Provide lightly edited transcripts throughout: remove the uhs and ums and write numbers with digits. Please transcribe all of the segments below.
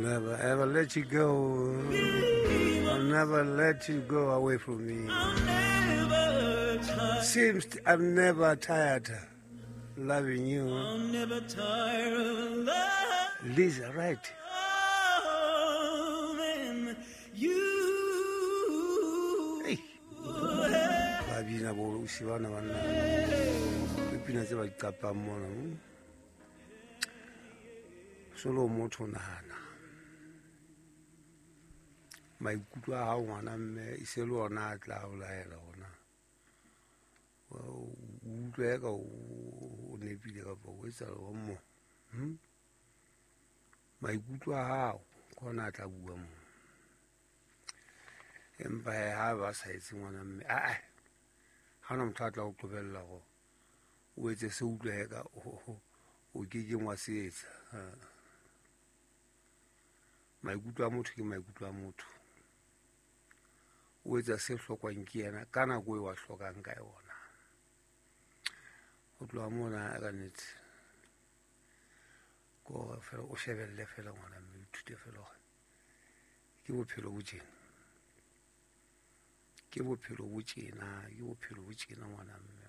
Never ever let you go. I'll never let you go away from me. Seems I'm never tired loving you. I'm never tired of loving Lisa, right. you. Hey. Ba bina bo o bana banna. Dipina tse ba di qapang mona. Solo motho nahana. Maikutlo a hao ngwana mme e se le ona a tla o laela ona. O utlwe ka o nepile kapa o etsa o mo. Maikutlo a hao ke ona a tla bua mo. Empa ha ba sa etse ngwana mme a ha ona motho a tla o qobella hore o etse se utlwe ka o ke ke wa se etsa. Maikutlo a motho ke maikutlo a motho. O etsa se hlokwang ke yena ka nako e wa hlokang ka yona. Ho tloha mona ka nnete ke hore fela o shebelle fela ngwana mme o ithute fela hore ke bophelo bo tjena. Ke bophelo bo tjena, ke bophelo bo tjena ngwana mme.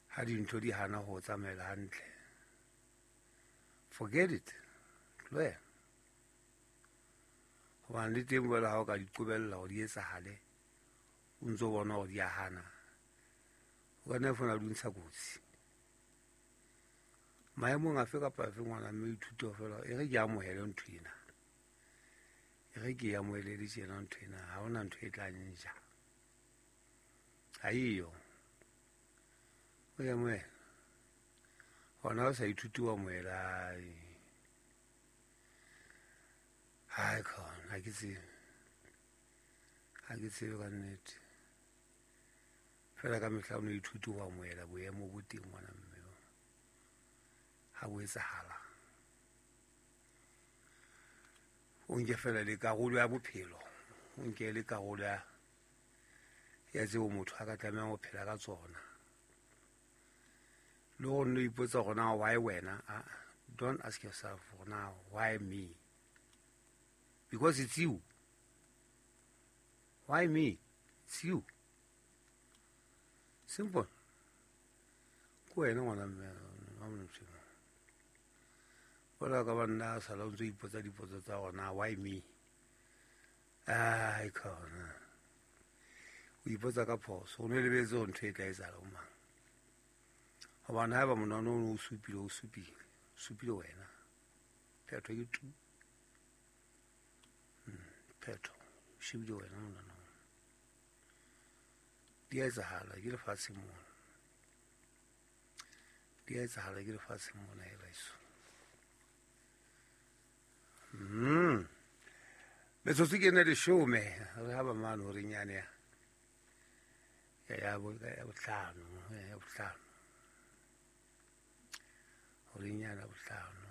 Ha dintho di hana ho tsamaela hantle, forget it. Tlohela. Hobane le teng jwale ha o ka di qobella hore di etsahale, o ntso bona hore di a hana, o ka nna fona di ntsha kotsi. Maemong afe kapa afe ngwana mme o ithute fela e re ke amohele ntho ena. E re ke amohele le tjena ntho ena, ha hona ntho e tla nja. Ha eyo. O e amohela. Hona o sa ithute wa amohela. Hai khona, ha ke tsebe. Ha ke tsebe ka nnete. Fela ka mehla o no ithute ho amohela boemo bo teng ngwana mme. Ha bo etsahala. O nke fela le karolo ya bophelo. O nke le karolo ya tseo motho a ka tlamehang ho phela ka tsona. Le ho nno ipotsa hore na why wena? Don't ask yourself hore na why me? Because it's you. Why me? It's you. Simple. Ke wena ngwana mme, ha o ntho. Jwalo ka banna a sala o ntso ipotsa dipotso tsa hore na why me? Ai khona. O ipotsa ka phoso, o no lebetse hore ntho e tla etsahala ho mang. Hobane haeba monwano o supile, o supile, o supile wena. Phetho ke tu. Phetho, o shebile wena monwano. Di a etsahala ke lefatshe mona. Di a etsahala ke lefatshe mona e baeso. Metsotso ke ena leshome, re ha ba mane hore nyane ya bohlano, ya bohlano. Hore nyane ya bohlano.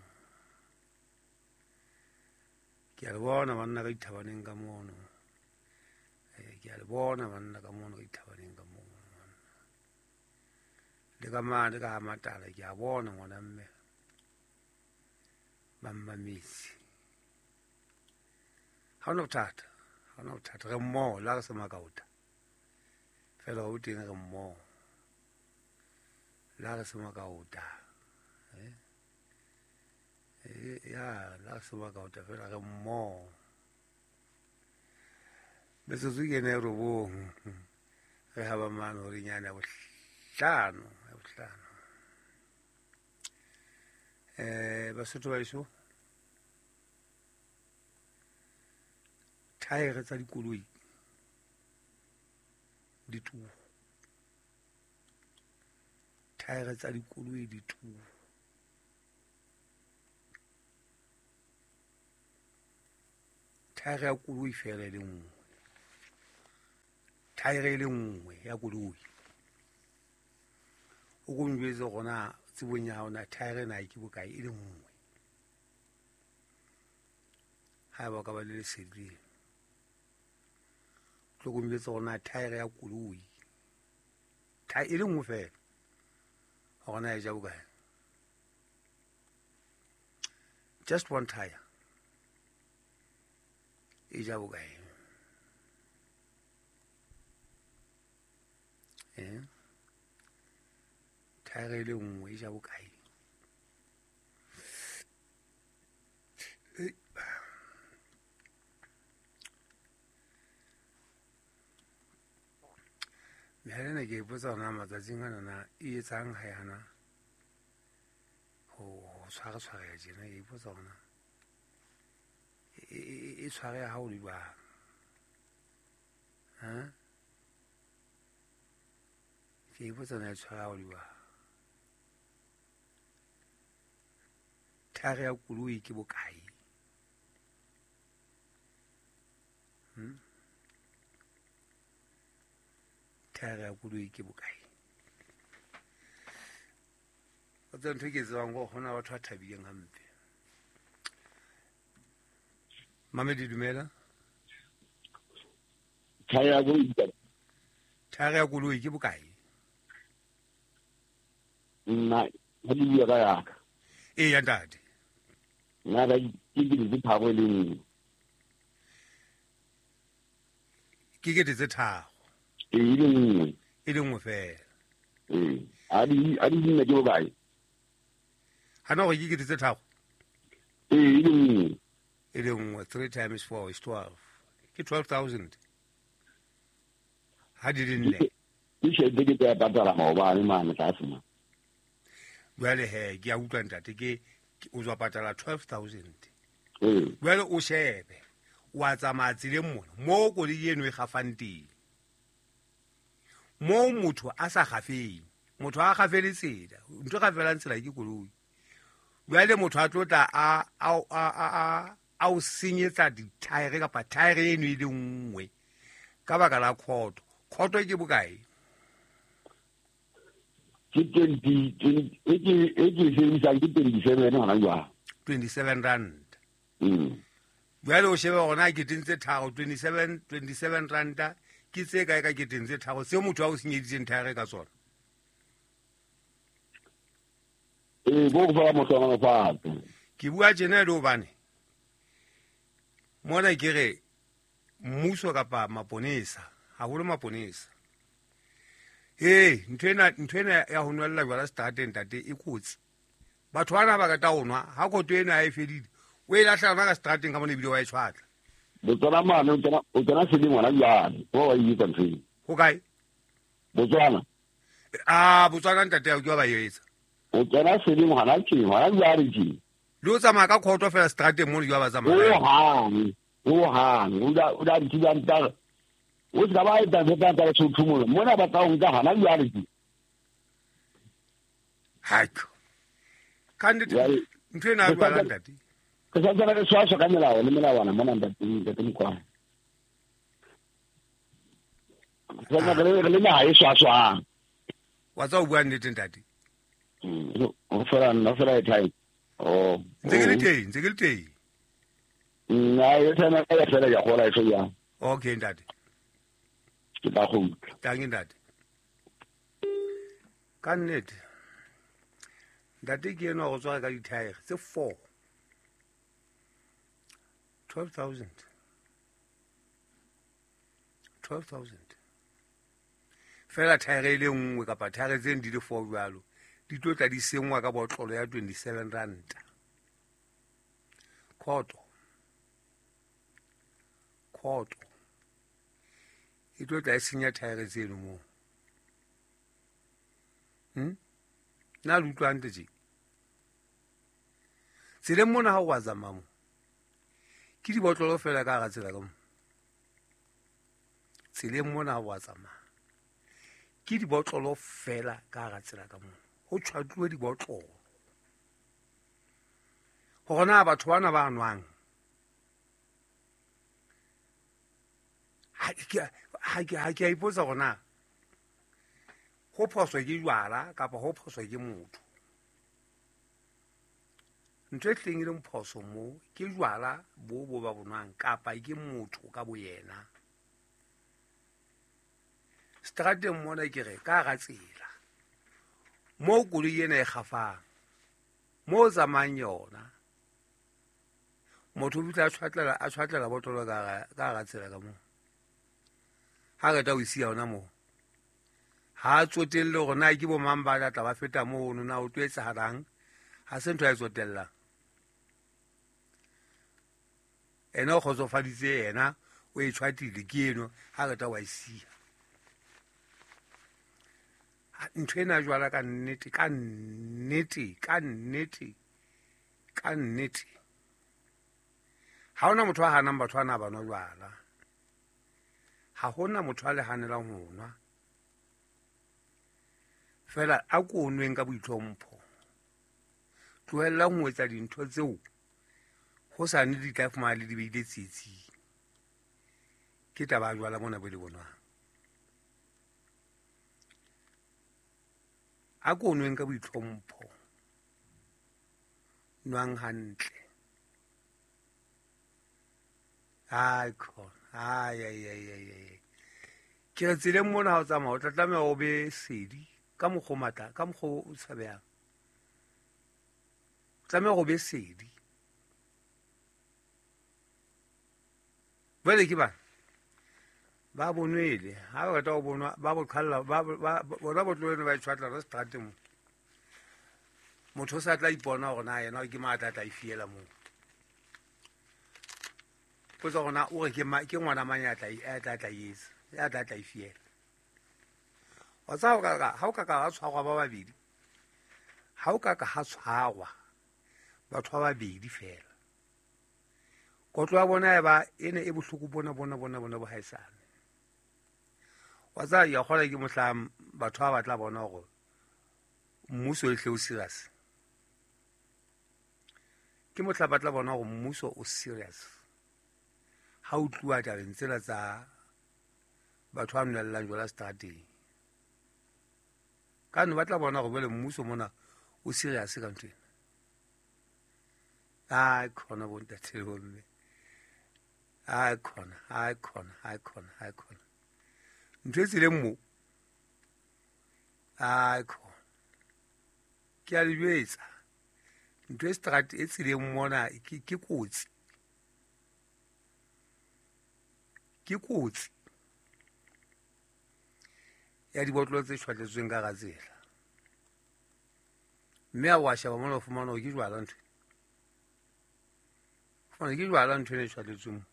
Ke a le bona banna ka dithabaneng ka mono. Ke a le bona banna ka mono ka dithabaneng ka mono. Le ka mane ka ha matala ke a bona ngwana mme. Ba mmametse. Ha hona bothata, ha hona bothata. Re mmoho, le ha re se makaota. Fela ho teng re mmoho. Le ha re se makaota. Ya, le ha re se makaota fela re mmoho. Metsotso ke ena e robong. Re ha ba mane hore nyane ya bohlano, ya bohlano. Basotho ba heso, thaere tsa dikoloi di turu. Thaere tsa dikoloi di turu. Thaere ya koloi fela e le nngwe. Thaere e le nngwe ya koloi. O ko njwetse hore na tsebong ya hao na thaere na ke bokae e le nngwe. Haeba o ka ba le lesedi, tlo ko njwetse hore na thaere ya koloi e le nngwe fela hore na e ja bokae. Just one tire. E ja bokae? Thaere e le nngwe e ja bokae? Mehala ena ke ipotsa hore na matsatsing anana e etsang ha yana ho tshware-tshwareha tjena, ke ipotsa hore na e tshwareha ha o le jwang. Ke ipotsa na e tshwareha ha o le jwang. Thaere ya koloi ke bokae? Thaere ya koloi ke bokae? O tseba ntho e ke e tsebang ke hore hona batho ba thabileng hampe. Mamedi, dumela. Thaere ya koloi ke Thaere ya koloi ke bokae? Nna ha ke bua ka yaka. Eya ntate. Nna ka ke kete tse tharo e le nngwe. Ke kete tse tharo. Ee, e le nngwe. E le nngwe fela. Ee, a di nne ke bokae? Hana hore ke kete tse tharo? Ee, e le nngwe. E le nngwe, 3 times 4 is 12. Ke 12,000. Ha di le nne. Ke tjhelete ke tla patala maobane mane tlase mane. Jwale he, ke a utlwa ntate, ke o tswa patala 12,000. Ee. Jwale o shebe, wa tsamaya tseleng mona, moo koloi eno e gafang teng. Moo motho a sa gafeng, motho a gafele tsela, ntho e gafelang tsela ke koloi. Jwale motho a tlo tla a o senyetsa dithaere kapa thaere eno e le nngwe ka baka la khoto. Khoto ke bokae? Ke 20, e ke e sebedisang ke 27 hona jwale. 27 rand. Jwale o shebe hore na keteng tse tharo, 27 ranta ke tse kae ka keteng tse tharo tseo motho a o senyeditseng thaere ka tsona? Ee, bo go fa mohlohonolofatso. Ke bua tjena e le hobane mona ke re mmuso kapa maponesa, haholo maponesa. Ee, ntho ena ya ho nwella jwala seterateng ntate e kotsi. Batho bana ba rata ho nwa, ha khoto ena ha e fedile, o e lahla yona ka seterateng ka mona ebile wa e tshwatla. Botswana mane, o tsena seleng hona jwale, wa e etsa ntho eo. Ho kae? Botswana. Ah, Botswana ntate ke wa ba etsa. O tsena seleng hona tje, hona jwale tje. Le o tsamaya ka khoto fela seterateng mono jwa ba tsamaya. Ho hang, o da ntse ba o se ka ba etsa ntho tsa tsa mona. Mona ba tla o nka hana jwale tje. Haiko. Ka nnete ntho ena ya jwala ntate. Ke sa tsena re swaswa ka melao le melawana mona ntate Mokwana. Re le naha e swaswang. Wa tsa o bua nnete ntate. O fela nna fela e time. Oh. Ntse ke le teng, Nna e tsena ka fela ya gola e ya. Okay ntate. Ke tla go utlwa. Tang ntate. Ka nnete. Ntate ke ena go tswa ka dithaere tse 4. 12,000. 12,000. Fela thaere e le nngwe kapa thaere tse di le 4 jwalo. Di tlo tla di sengwa ka botlolo ya 27 ranta. Khoto. E tlo tla e senya thaere tseno moo. Nna le utlwa hantle tje. Tseleng mona ha o wa tsamaya mo. Ke dibotlolo fela ka hara tsela ka mo. Tseleng mona ha o wa tsamaya. Ke dibotlolo fela ka hara tsela ka mo. Ho tshwatluwe dibotlolo. Hore na batho bana ba nwang. Ha ke a ipotsa hore na ho phoso ke jwala kapa ho phoso ke motho. Ntho e hleng e leng phoso mo ke jwala bo ba bonwang kapa ke motho ka boyena. Strateng mona ke re ka hara tsela moo koloi ena e kgafang, moo tsamayang yona, Motho o fihla a tshwatlela botlolo ka hara tsela ka moo. Ha qeta ho siya hona moo. Ha a tsotelle hore na ke bo mang ba tla ba feta mono, na o tlo etsahalang. Ha se ntho ya e tsotellang. Ena o kgotsofaditse yena, o e tshwatile ke eno, ha qeta wa e siya. Ntho ena jwala ka nnete, ka nnete, ka nnete, ka nnete. Ha hona motho a hanang batho ana ba nwa jwala. Ha hona motho a le hanelang ho nwa. Fela a ko nweng ka boitlhompho. Tlohellang ho etsa dintho tseo ho sa ne di tla fumana le di beile tsietsing. Ke taba ya jwala mona bo le bonwang. A ko nweng ka boitlhompho. Nwang hantle. Ai khona. Ai ai ai ai ai. Ke re tseleng mona ha o tsamaya o tla tlameha o be sedi ka mokgwa o matla, ka mokgwa o tshabehang. O tlameha o be sedi. Jwale ke bana ba bonwele, ha ba qeta ho bonwa ba bo qhalla, ba bona botlolo ba e tshwatla ka seterateng mo. Motho o sa tla ipona hore na yena ke mang a tla tla e fiela moo. Potsa hore na o re ke ngwana mang ya tla tla etsa, ya tla tla e fiela. Wa tseba ha o ka ka ha tshwarwa ba babedi, ha o ka ka ha tshwarwa batho ba babedi fela. Kotlo ya bona e ba ene e bohloko bona bona bona bona bo haesale. Wa tseba ya kgola ke mohla batho ba batla bona hore mmuso e hle o serious. Ke mohla ba tla bona hore mmuso o serious. Ha o tluwa tabeng tsela tsa batho ba nwellang jwala seterateng. Ka no ba tla bona hore jwale mmuso mona o serious ka ntho ena. Ai khona bo ntate le bomme. Ai khona, ai khona, ai khona, ai khona. Ntho e tseleng mo. Ai khona. Ke a le jwetsa. Ntho e strat e tseleng mona ke kotsi. Ke kotsi. Ya dibotlolo tse tshwatletsweng ka hara tsela. Mme a wa sheba mona o fumana hore ke jwala ntho. Fumana ke jwala ntho e tshwatletsweng mo.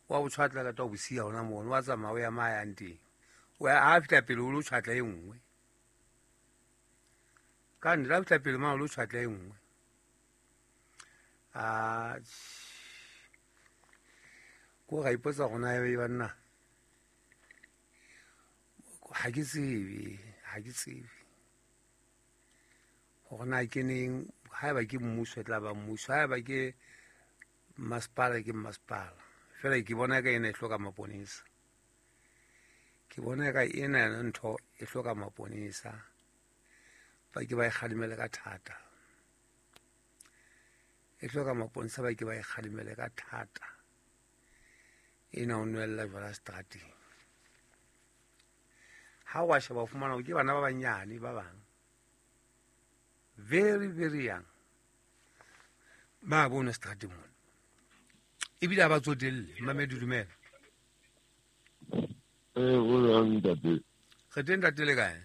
Wa bo tshwatla ka twa bosiya hona mono, wa tsamaya o ya ma yang teng. O ya ha fihla pele o lo tshwatla e nngwe. Ka nnete ha fihla pele ma o lo tshwatla e nngwe. A ko ga ipotsa gona e banna. Ha ke tsebe, ha ke tsebe. Hore na ke neng, haeba ke mmuso e tla ba mmuso, haeba ke masepala ke masepala. Fela ke bona ka ena e hloka maponesa. Ke bona ka ena yona ntho e hloka maponesa. Ba ke ba e kgalemele ka thata. E hloka maponesa ba ke ba e kgalemele ka thata. Ena o nwella jwala seterateng. Ha wa sheba o fumana ke bana ba banyane ba bang. Very very young. Ba bona seterateng mona. Ebile ha ba tsotelle, Mamedi dumela. O jwang ntate? Re teng ntate le kae?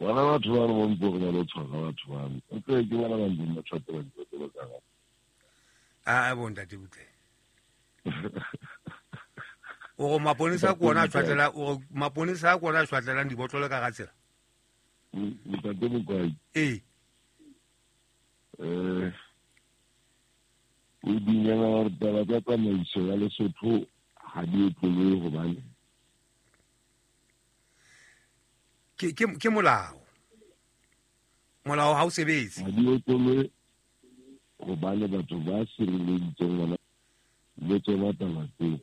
Bona batho ba re bontse re na le tshwara batho bana. O tle ke bona ba ntseng ba tshwatela dibotlolo ka hare. A bo ntate butle. O re maponesa ke ona a tshwatlela, o re maponesa ke ona a tshwatlelang dibotlolo ka hara tsela? Ntate Mokwai. Ee. O dumela hore taba tsa tsamaiso ya Lesotho ha di otlolohe hobane ke molao. Molao ha o sebetse. Ha di otlolohe hobane batho ba sireleditseng ngwana le tsona taba tseo.